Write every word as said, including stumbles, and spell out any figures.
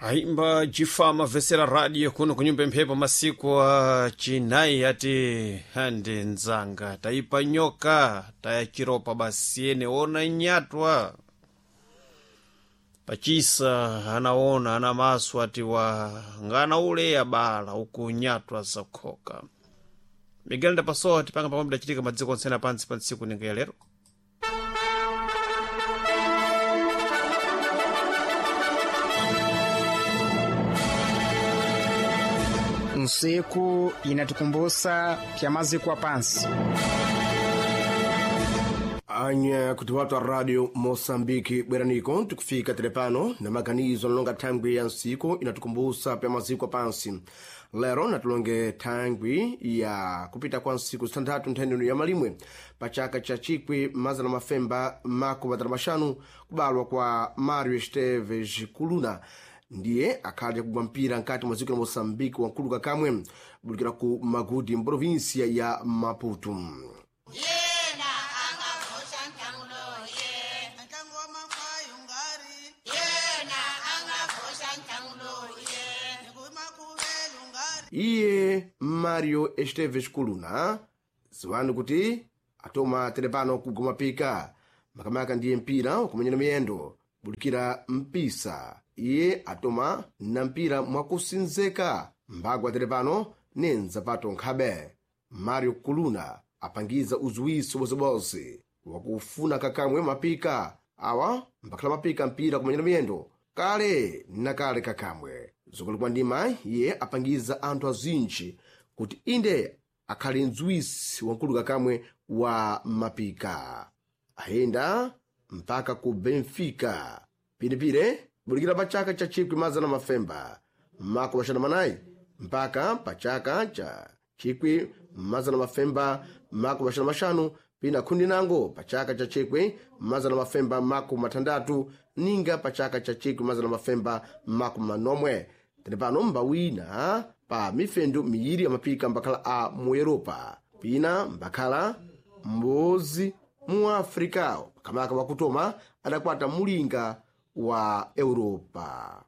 Aimba jifama vesera radio kuno kunyumba mphepo masiku a chinayi ati hande nzanga taipa nyoka tayachiropa basi ene ona nyatwa pachisa anaona ana maso ati wa ngana ule abala uku nyatwa zakhoka. Miguel ndapasowa tipanga pamwe bidachitika madziko onse pansi pa ntsiku ninga ya lero. Nsiku inatukumbusa pya maziko pansi. Anya kuti watu wa radio Moçambique bweraniko tikufika telepano na maganizo analonga thangwi ya nsiku inatukumbusa pya maziko pansi. Lero natulonge thangwi ya kupita kwa nsiku zithanthatu ntheneno ya malimwe pa chaka cha chikwi mazana mafemba makumi atatu maxanu kubalwa kwa Mario Esteves Kuluna ndiye akhali akugwa mpira nkati mwa dziko la Moçambique wankulu kakamwe bulikira ku Magudi mprovinsia ya Maputo. Iye Mario Esteves Kuluna ziwani kuti atoma telepano kugoma pika makamaka ndiye mpira wakumenyera miyendo bulikira mpisa. Iye atoma na mpira mwakusinzeka mbagwa telepano nenzapato nkhabe. Mario Kuluna apangiza uziwiso bozeboze wakufuna kakamwe mapika awa mbakhala mapika mpira kumenyera miyendo kale na kale kakamwe zokulikwa ndima. Iye apangiza anthu azinji kuti inde akhale mdziwisi wankulu kakamwe wa mapika ayenda mpaka ku Benfica piripire bulikira pa chaka cha chikwi mazana mafemba mako maxana manayi mpaka pa chaka cha chikwi mazana mafemba mako maxana maxanu pina khundi nango pa chaka cha chikwi mazana mafemba mako mathandatu ninga pa chaka cha chikwi mazana mafemba mako manomwe. Tene pano mbawina pa mifendu miyiri amapika mbakhala a mu Europa pina mbakhala mbozi mu Afrika kamaka wakutoma adakwata mulinga wa Europa.